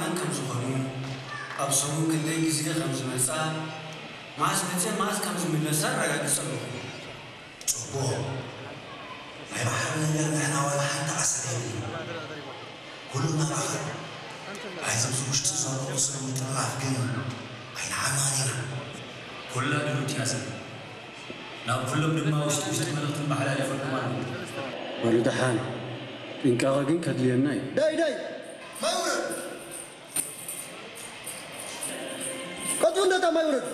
መን ከም ዝኾኑ፣ ኣብ ሰሙን ክንደይ ግዜ ከም ዝመጻ፣ መዓስ መጺኤን መዓስ ከም ዝምለሳ ኣረጋግጸ ኣለኹ። ጽቡቕ። ናይ ባሕሪ ነገር ንሕና ዋላ ሓንቲ ዓሰብ የብልና። ኩሉ ናባኻ። ኣይ፣ ኣብዚ ውሽጢ ዘሎ ቁስል ምጥርናፍ ግን ኣይንዓማን ኢና። ኩላ ድሩት እያ ሰብ። ናብ ኩሎም ድማ ውሽጢ ውሽጢ መልእኽቲ መሓላሊፈልኩም ኣለኹ። በሉ ደሓን፣ ጥንቃቐ ግን ከድልየና እዩ። ዳይ ዳይ! ማይ ውረድ! ቀጥ በል እንዳታ ማይ ውረድ!